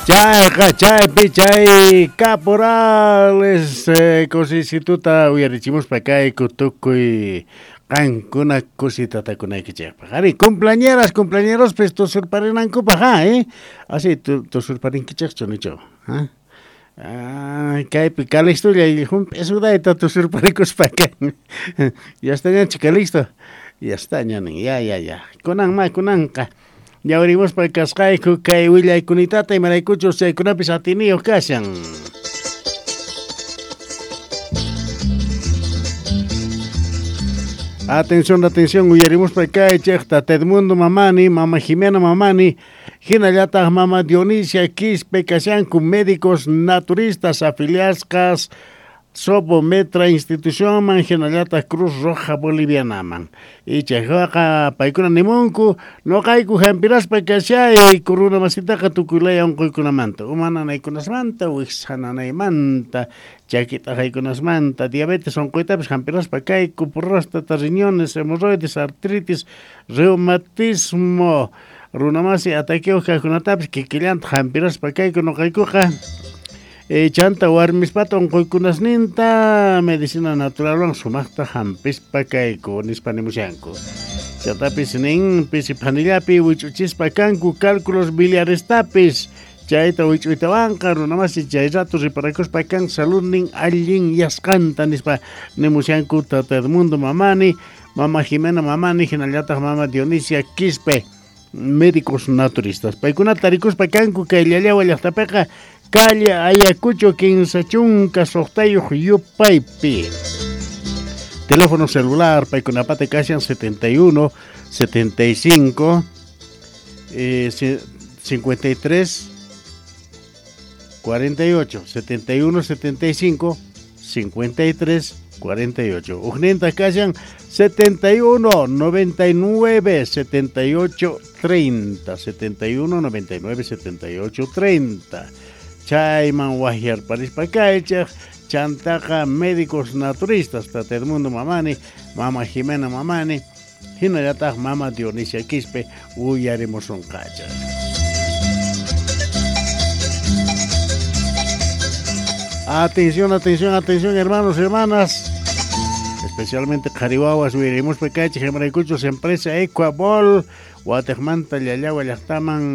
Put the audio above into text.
Chayqa chaypi chay caporales kusisituta uyarichimuspa kayku tukuy qankuna kusitatakunaykichejpaj. Ari, cumpleañeras, cumpleañerospis tusurparinankupaj, ha, eh? Así tusurparinkichejchu nichu, ha? Ah, kaypi Calixtolla jump'isudayta tusurparikuspa kan. Ya está ñachu Calixto. Ya está ña nin, ya, ya, ya. Kunan ma, kunanqa. Ñawirimuspa kasqayku kay willaykunitata imaraykuchus chaykunapis atiniyuq kashan. Atención, atención, uyarimuspa kaychej Tata Edmundo Mamani, Mama Jimena Mamani, hinallataq Mama Dionisia Quispe kashanku médicos naturistas afiliasqas Sobometra institucionman hinallataq Cruz Roja Bolivianaman. Ichayqa paykuna nimunku noqayku hampiraspa kashay kuruna masitaqa tukuy laya unquykunamanta, uma nanaykunasmanta, wiksa nanaymanta, chaki t'aqaykunasmanta, diabetes unquytapis hampiraspa kayku, próstata, riñones, hemorroides, artritis, reumatismo, runamasi ataqueo kaqkunatapis kikillanta hampiraspa kayku noqaykuqa. Chanta warmispata unquykunasninta medicina naturalwan sumaqta hampispa kayku nispa nimushanku. Chantapis nin pisi phanillapi wich'uchispa kanku cálculos biliarestapis chayta wich'uytawanqa runamasi chay rato riparakuspa kan saludnin allin yasqanta nispa nimushanku Tata Edmundo Mamani, Mama Jimena Mamani, hinallataq Mama Dionisia Quispe, médicos naturistas. Paykunata tarikuspa kanku kay Llallawa llaqtapiqa calle Ayacucho 56 yupaypi. Teléfono celular paykunapata kashan 71 75 53 48, 71 75 53 48. Ujninta kashan 71 99 78 30, 71 99 78 30. Chayman wahyarparispa kaychej chantaqa médicos naturistas Tata Edmundo Mamani, Mama Jimena Mamani, hinallataq Mama Dionisia Quispe uyarimusunqachaj. Atención, atención, atención, hermanos y hermanas. Especialmente qhariwawas uyarimuspa kaychej imaraykuchus empresa Ecuabol Watejmanta Llallawa llaqtaman